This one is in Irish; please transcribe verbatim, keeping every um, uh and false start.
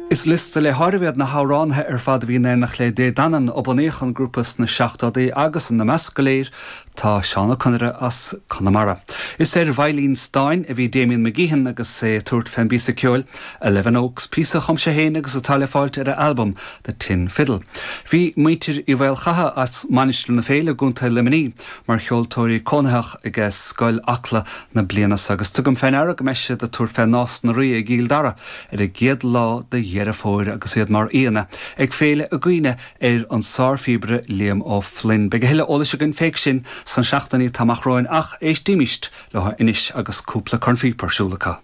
Is liosta le háireamh iad na hamhránaithe ar fad a bhí in éineacht le Dé Danann ó bunaíodh an grúpa sna seachtóidí agus ina measc go léir tá Seán Ó Conaire as Conamara. Is ar veidhlín stáin a bhí Damien McGeehan agus é ag tabhairt fén bpíosa ceoil Eleven Oaks píosa a chum sé féin agus atá le fáilt ar a albam The Tin Fiddle. Bhí muintir Uí Mhaolchatha as Mainistir na Féile i gContae Luimnigh mar cheoltóirí cónaitheach ag Scoil Acla na bliana seo agus tugaim fé ndeara go mbeidh siad ag tabhairt fé Nás na Rí i gCill Dara ar an gcéad lá de Dheireadh Fómhair agus iad mar aíonna ag féile i gcuimhne ar an sárphíobaire Liam O'Flynn. Beidh a thuilleadh eolais againn fé sin sna seachtainí atá amach romhainn ach éistimist leo anois agus cúpla cornphíopa ar siúl acu.